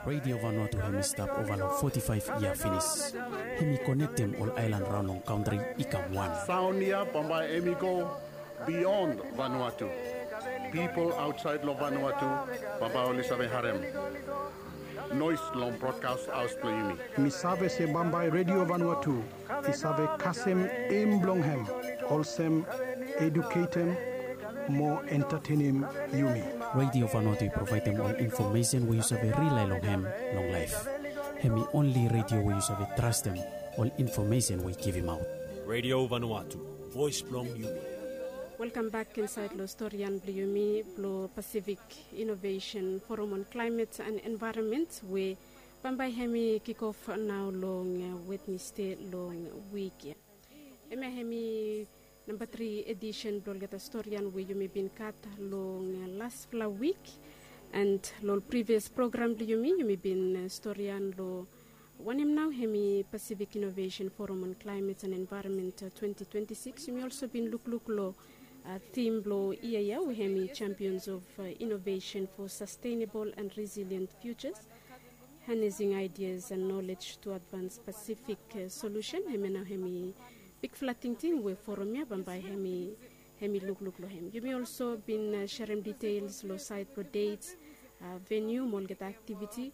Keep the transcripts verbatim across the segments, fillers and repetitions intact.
Radio Vanuatu hemi stap ova long foti faef yia finis. Hemi konektem ol aelan raon long kantri i kam wan. Saon ya bambae hemi go bion Vanuatu. Pipol aotsaed long Vanuatu bambae oli save harem noes long brodkas haos blong yumi. Mi save se bambae Radio Vanuatu i save kasem em blong hem olsem eduketem mo entatenem yumi. Radio Vanuatu i provaedem ol infomesen we yu save rilae long hem long laef. Hemi onli radio we yu save trastem ol infomesen we i givimaot. Radio Vanuatu, voes blong yumi. Welkam bak insaed long storian blong yumi blong Pacific Innovation Forum on Climate and Environment we bambae hemi kikof nao long Wednesday long wik ya. Hemia hemi namba tri edisen blong olgeta storian we yumi bin gat long lasfala wik. And long privias program blong yumi yumi bin storian long wanem nao hemi Pacific Innovation Forum on Climate and Environment twenty twenty-six. Yumi olso bin lukluk long tim blong yia ya we hemi Champions of Innovation for Sustainable and Resilient Futures, Harnessing Ideas and Knowledge to Advance Pacific Solution. Hemia nao hemi bigfala tingting we forum ya bambae hemi hemi lukluk long hem. Yumi olso bin serem detaels long saed blong dets, veniu mo olgeta aktiviti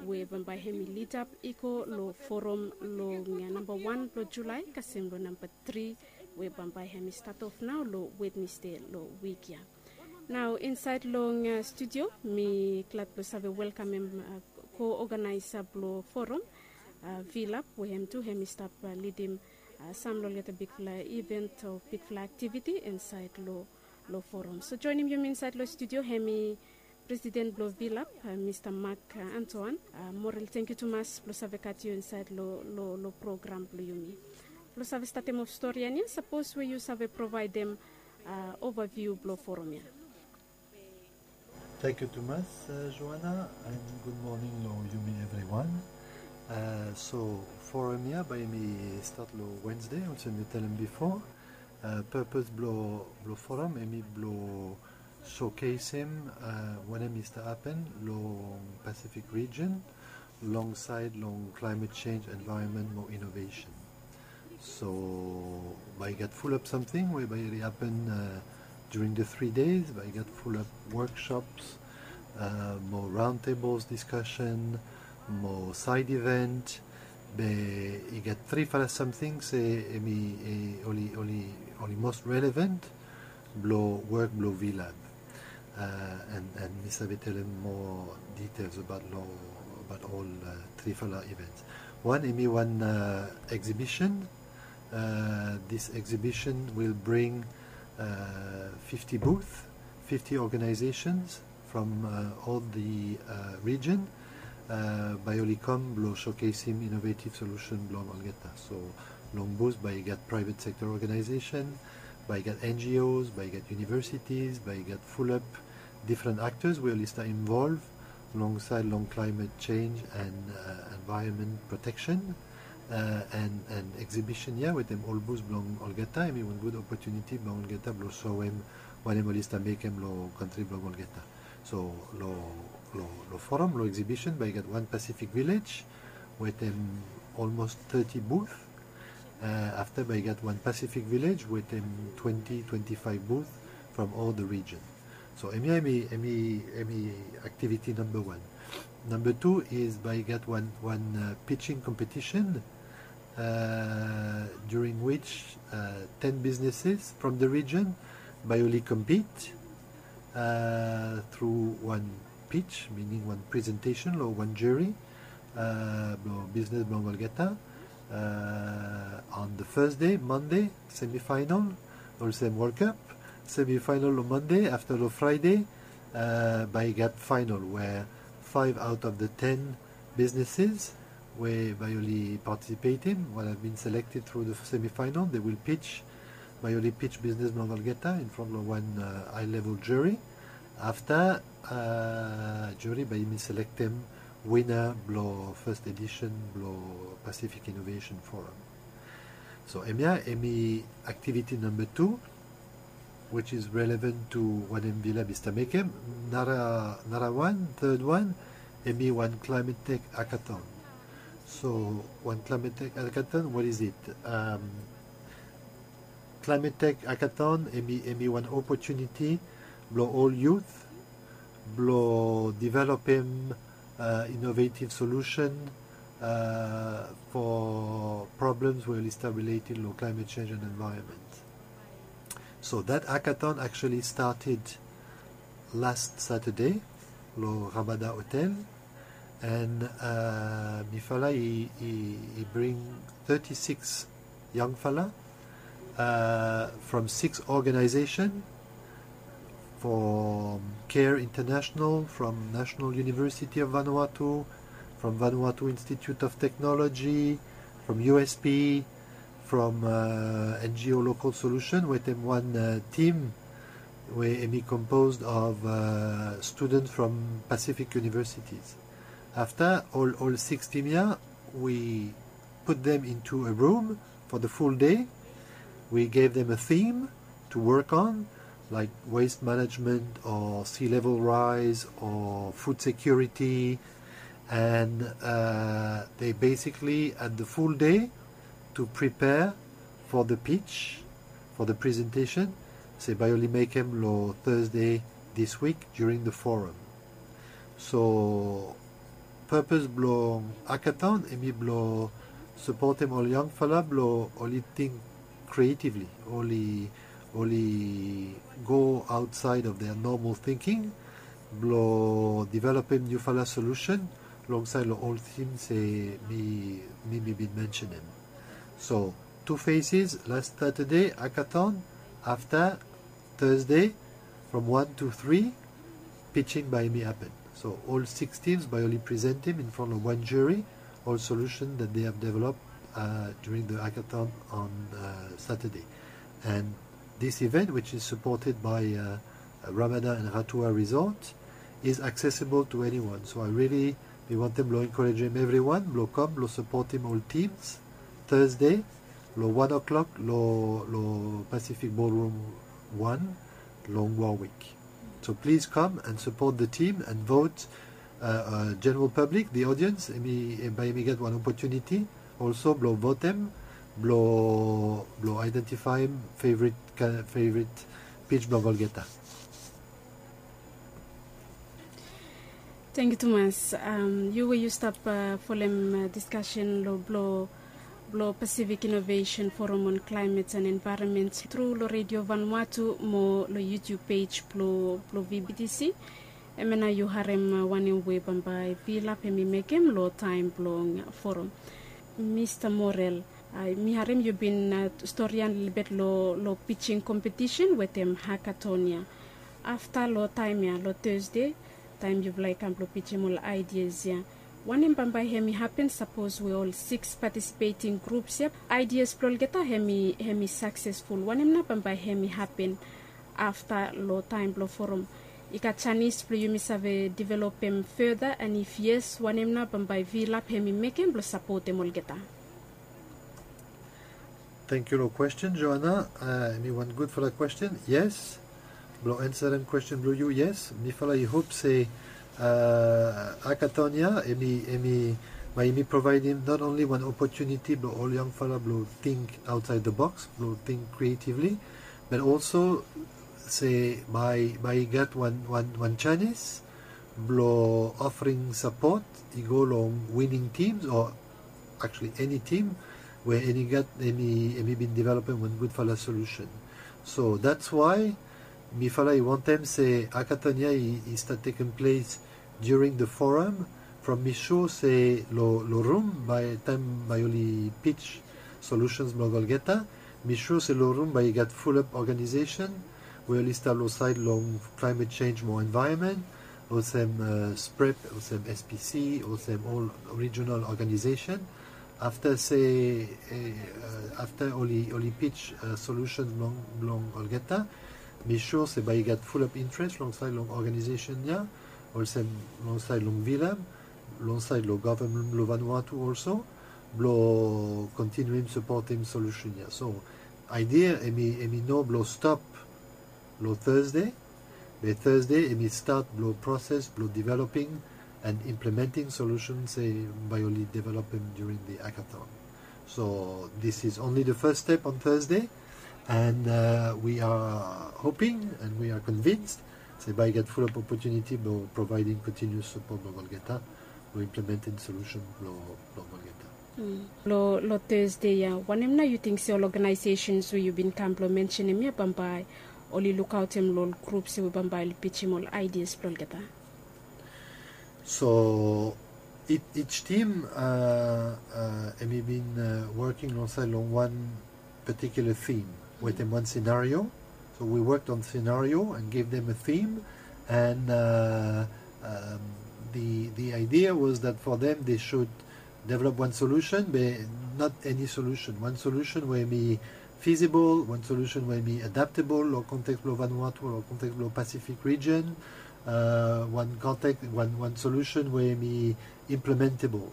we bambae hemi lidap i go long forum long namba wan blong Julae kasem long namba tri we bambae hemi stat of nao long Wednesday long wik ya. Nao insaed long studio mi glad blong save welkamem ko-oganaesa blong forum, Vilap, we hem tu hemi stap lidim sam long olgeta bigfala iven o bigfala aktiviti insaed long forum. So joenem yumi insaed long studio hemi presiden blong Vilap, Mista Mark Antoan. Morel, tangkiu tumas blong save gat yu insaed long program blong yumi. Blong save statem of storian ya, sapos we yu save provaedem ovaviu blong forum ya. Tangkiu tumas, Joana, and gud moning long yumi evriwan. So forum ya bae hemi stat long Wednesday olsem yu talem bifo. Purpose blong forum hemi blong showcasem wanem i stap hapen long Pacific region long saed long climate change, environment mo innovation. So bae i gat fulap samting we bae i hapen during the three days. Bae i gat fulap workshops mo roundtables discussion mo side event. Be i gat trifala samting se hemi oli most relevant blong wok blong Vilap. And mi save talem moa detaels abaot long abaot ol trifala events. Wan hemi wan exhibition. This exhibition will bring fifty booth, fifty organizations from all the region. Bae oli kam blong showcasem innovative solution blong olgeta. So long booth bae i gat private sector organization, bae i gat N G Os, bae i gat universities, bae i gat fulap different actors we oli stap involve long saed long climate change and environment protection. And exhibition ya wetem ol booth blong olgeta hemi wan gud opotuniti blong olgeta blong soem wanem oli stap mekem long kantri blong olgeta. So long forum, long exhibition bae i gat wan Pacific Village wetem almost thirty booth. Afta bae i gat wan Pacific Village wetem twenty, twenty-five booth from all the region. So hemia hemi aktiviti namba wan. Namba tu is bae i gat wan pitching competition during which ten businesses from the region bae oli compete through wan pitch, meaning wan presentation long wan jury blong bisnes blong olgeta. On the first day, Monday, semifinal, olsem World Cup. Semifinal long Monday, afta long Friday bae i gat final we five out of the ten businesses we bae oli participatem, we have been selected through the semifinal, they will pitch, bae oli pitch bisnes blong olgeta in front long wan high level jury. Afta jury bae hemi selektem wina blong first edition blong Pacific Innovation Forum. So hemia hemi aktiviti namba tu, which is relevant to wanem Vilap i stap mekem. Nara wan, third one, Hemi wan Climate Tech Hackathon. So wan Climate Tech Hackathon, what is it? Um, Climate Tech Hackathon hemi, hemi wan opportunity blo ol youth blo developem uh, innovative solution uh, for problems we oli stap related lo climate change and environment. So that hackathon actually started last Saturday lo Ramada Hotel, and uh, mifala i, i, i bring thirty-six yangfala uh, from six organization, from CARE International, from National University of Vanuatu, from Vanuatu Institute of Technology, from U S P, from uh, N G O Local Solution, wetem wan uh, team we hemi composed of uh, students from Pacific universities. Afta ol, ol six team ya, we put them into a room for the full day. We gave them a theme to work on, like waste management or sea level rise or food security. And uh, they basically had the full day to prepare for the pitch, for the presentation, se bae oli mekem lo Thursday this week during the forum. So purpose blo hackathon hemi blo supportem ol yangfala blo oli think creatively, oli, oli go outside of their normal thinking, blo developem niufala solution longside lo ol theme se mi, mi, mi bin mentionem. So two phases, last Saturday hackathon, afta Thursday from one to three, pitching bae hemi happen. So ol six teams bae oli presentem in front of one jury ol solution that they have developed uh, during the hackathon on uh, Saturday. And this event, which is supported by uh, Ramada and Ratua Resort, is accessible to anyone. So I really, mi wantem blo encouragem everyone blo kam blo supportem ol teams Thursday lo one o'clock lo, lo Pacific Ballroom one long Warwick. So please come and support the team and vote uh, uh, general public, the audience, hemi, eh, bae hemi get wan opportunity also blo votem, blo, blo identifyem favorite, favorite pitch blo olgeta. Tangkiu tumas. Um, yu we yu stap uh, folem uh, discussion lo blo, blo Pacific Innovation Forum on Climate and Environment tru lo Radio Vanuatu mo lo YouTube page blo, blo V B T C. Hemia nao yu harem uh, wanem we bambae Vilap hemi mekem lo taem blong forum. Mista Morel, uh, mi harem yu bin uh, storian lelebet lo, lo pitching competition wetem hackathon ya. Afta lo taem ya, lo Thursday, taem yufala i kam blo pitching ol ideas ya, wanem bambae hemi hapen sapos we ol six participating groups ya, ideas blo olgeta hemi, hemi successful? Wanem nao bambae hemi hapen afta lo taem blo forum? I gat janis blo yumi save developem further, and if yes, wanem nao bambae Vilap hemi mekem blo sapotem olgeta? Tangkiu lo question, Joanna. Uh, hemi wan gudfala question. Yes. Blo ansarem question blo yu, yes. Mifala i hop se uh, hackathon ya hemi, hemi, bae hemi provaedem not only wan opportunity blo ol yangfala blo think outside the box, blo think creatively, but also se bae, bae i gat wan, wan, wan janis blo offering support i go long winning teams o actually eni tim we hemi gat, hemi, hemi bin developem wan gudfala solution. So that's why mifala i wantem se hackathon ya i, i stap tekem ples during the forum, from mi sua se lo, lo rum bae taem bae oli pitch solutions blong olgeta, mi sua se lo rum bae i gat fulap organization we oli stap lo saed long climate change mo environment, olsem uh, SPREP, olsem S P C, olsem ol regional organization. Afta se, uh, afta oli, oli pitch uh, solution blong, blong olgeta, mi sua se bae i gat fulap interest long saed long organization ya, olsem long saed long Vilap, long saed lo government blo Vanuatu also, blo kontinuem sapotem solution ya. So idea hemi, hemi no blo stop lo Thursday, be Thursday hemi stat blo proses blo developing and implementing solutions se bae oli developem during the hackathon. So this is only the first step on Thursday, and uh, we are hoping and we are convinced se bae i gat fulap opportunity blong providing continuous support blong olgeta blong implementing solution blong olgeta. Lo, lo Thursday ya, wanem nao yu ting se ol organizations we yu bin kam blong mensenem ya bambae oli lukaotem lo ol groups we bambae oli pitchim ol ideas blong olgeta? So each team, uh, uh, hemi bin uh, working alongside long one particular theme wetem one scenario. So we worked on scenario and gave them a theme, and uh, um, the the idea was that for them they should develop one solution, but not any solution. One solution we hemi feasible, one solution we hemi adaptable lo context blong Vanuatu, lo context blong Pacific region, uh, one context, one, one solution we hemi implementable.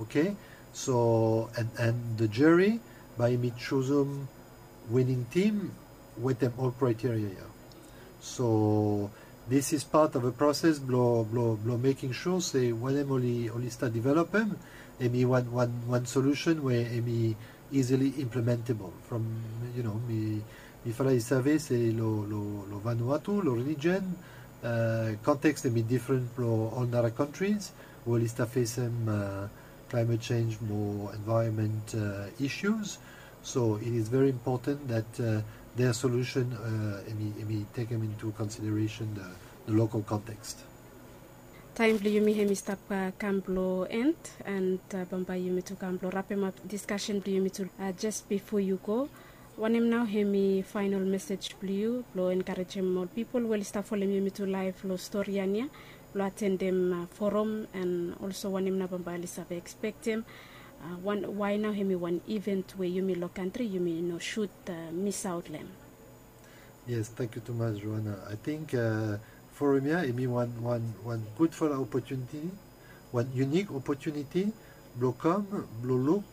Okay? So, and, and the jury bae hemi jusum winning team wetem ol criteria ya. So this is part of a process blong, blong, blong making sure se wanem oli, oli stap developem, hemi one, one, one solution we hemi easily implementable. From, you know, mi, mifala i save se lo, lo, lo Vanuatu, lo region, uh, context hemi different lo ol nara countries we oli stap fesem uh, climate change mo environment uh, issues. So it is very important that uh, their solution uh, hemi, hemi tekem into consideration the, the local context. Taem blong yumi hemi stap uh, kam blong end, and uh, bambae yumi tu kam blong rapemap diskasen blong yumi tu. Uh, jes bifo yu go, wanem nao hemi faenol mesej blong yu blong enkarejem ol pipol we oli stap folem yumi tu laef lo storian ya blong atendem uh, forum, and olso wanem nao bambae oli save ekspektem? Uh, wae nao hemi wan event we yumi lo kantri yumi no sud uh, misaot lo hem? Yes, thank you tumas, Joanna. I think uh, forum ya hemi wan, wan, wan gudfala opportunity, wan unique opportunity blong kam blong luk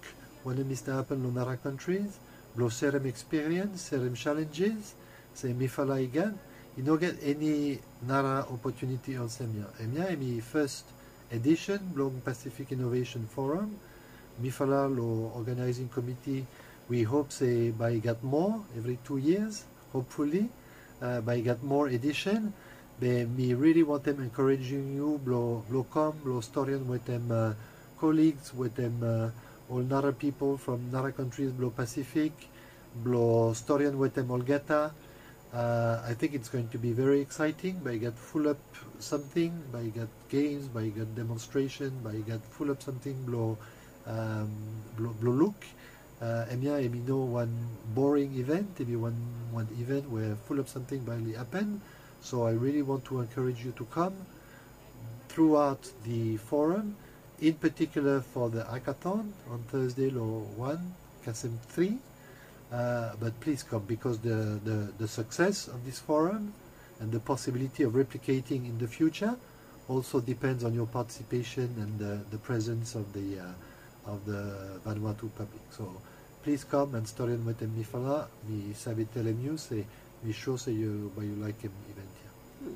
wanem i stap hapen lo nara countries, blong serem experience, serem challenges se mifala i gat. I no gat eni nara opportunity olsem ya. Hemia hemi first edition blong Pacific Innovation Forum. Mifala lo organizing committee, we hope se bae i gat moa evri two years, hopefully. Uh, bae i gat moa edition. Be mi really wantem encouraging yu blong, blong kam blong storian wetem uh, colleagues, wetem uh, ol nara pipol from nara countries blong Pacific, blong storian wetem olgeta. Uh, I think it's going to be very exciting. Bae i gat fulap samting, bae i gat games, bae i gat demonstration, bae i gat fulap samting blong, um, blong, blong luk. Uh, hemia hemi no wan boring event, hemi wan, wan event we fulap samting bae oli hapen. So I really want to encourage you to come throughout the forum, in particular for the hackathon on Thursday lo wan kasem tri. Uh, but please come because the, the, the success of this forum and the possibility of replicating in the future also depends on your participation and the, the presence of the, uh, of the Vanuatu public. So please come and storian wetem mifala. Mi save telem yu se mi sua se yu bae yu laekem event ya.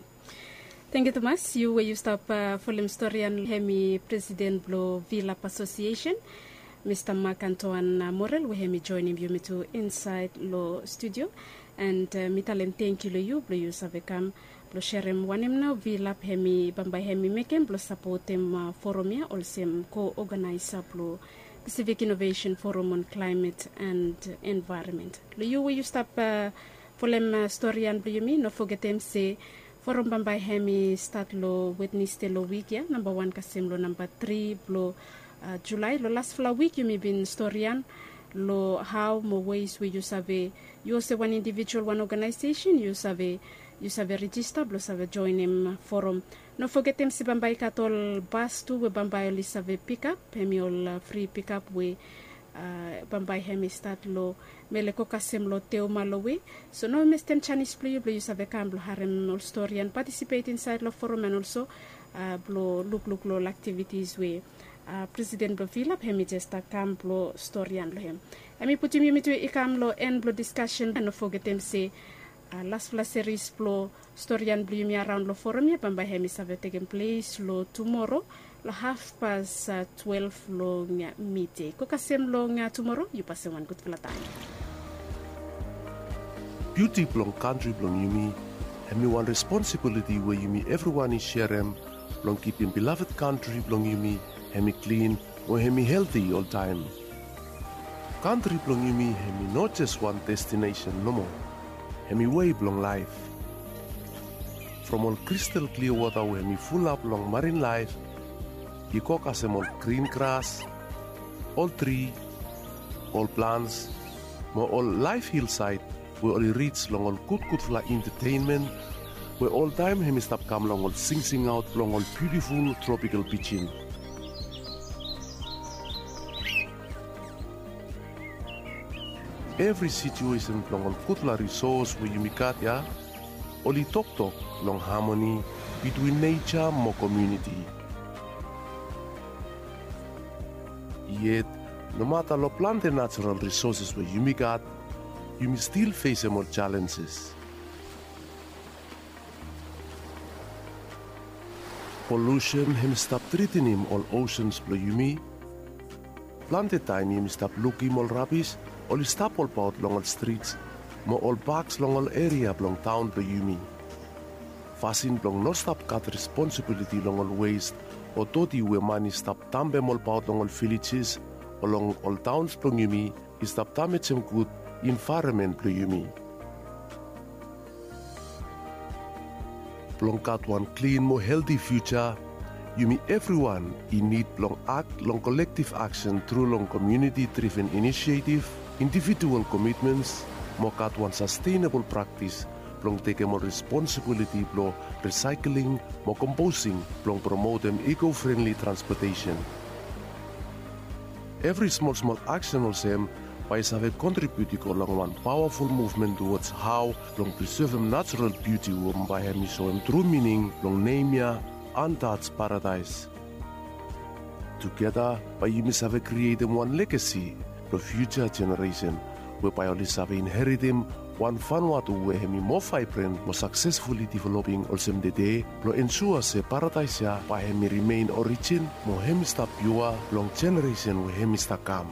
Tangkiu tumas. Yu we yu stap uh, folem storian, hemi presiden blong VLAP Association, Mista Mark Antoine uh, Morel, we hemi joenem yumi tu insaed lo studio. And uh, mi talem tangkiu lo yu blong yu save kam blong serem wanem nao VLAP hemi bambae hemi mekem blong sapotem uh, forum ya olsem ko-oganaesa blong Pacific Innovation Forum on Climate and Environment. Lo yu we yu stap uh, folem uh, storian blong yumi, no fogetem se forum bambae hemi stat lo Wednesday lo wik ya, namba wan kasem lo namba tri blo uh, Julae. Lo lasfala wik yumi bin storian lo hao mo ways we yu save, yu olsem wan individual, wan organization, yu save, yu save rejista blo save joenem forum. No fogetem se bambae i gat ol bas tu we bambae oli save pikap, hemi ol uh, fri pikap we uh, bambae hemi stat lo Mele go kasem lo Teuma lo we. So no westem janis blo yu blo yu save kam blo harem ol storian, patisipet insaed lo forum and olso uh, blo lukluk lo ol aktivitis we uh, presiden blo VLAP hemi jes stap kam blo storian lo hem. Hemi putum yumi tu i kam lo en blo diskasen. And no fogetem se Laspela seris blong storian blong yumi araon long forum ya bambae hem i save tekem ples long tumoro long hafpas twelve long mide. Go kasem long tumoro, yu pasem wan gutpela taem. Biuti blong kantri blong yumi hem i wan responsibiliti we yumi evriwan i serem blong kipim bilavet kantri blong yumi hem i klin mo hem i helti oltaem. Kantri blong yumi hem i no jes wan destinesen nomo. Hem i wei blong laef. From ol kristal klia wota we hem i fulap long marin laef i go kasem ol grin gras, ol tri, ol plans mo ol laef hilsaed we oli rij long ol gudgudfala entetenmen we oltaem hem i stap kam long ol singsingaot blong ol biutiful tropikal pijin. Evri situesen blong ol gudfala risos we yumi gat ya oli toktok long hamoni bitwin neja mo komuniti. Yet nomata long plante najeral risoses we yumi gat, yumi stil fesem ol jalenjes. Polusen hem i stap tritinim ol osens blong yumi. Plante taem yumi stap lukim ol rabis oli stap olbaot long ol strits mo ol baks long ol eria blong taon blong yumi. Fasin blong no stap gat responsibiliti long ol wes o doti we man i stap dampem olbaot long ol vilejes o long ol taons blong yumi i stap damejem gud envaeronmen blong yumi. Blong gat wan klin mo helti fiuja, yumi evriwan i nid blong akt long kolektiv aksen tru long komuniti driven inisietiv, individual komitmens mo gat wan sastenabol praktis blong tekem ol responsibiliti blong risaekling mo komposing blong promotem iko frenli transpotesen. Evri smolsmol aksen olsem bae i save kontribiut i go long wan pawaful muvmen tuwods hao blong prisevem najeral biuti we bae hem i soem tru mining blong nem ya Untouched Paradise. Tugeta bae yumi save krietem wan legasi blong fiuja jeneresen we bae oli save inheritim wan Vanuatu we hem i moa vaebren mo saksesfuli developing olsem tede blong ensua se paradaes ya bae hem i rimen orijin mo hem i stap piua long jeneresen we hem i stap kam.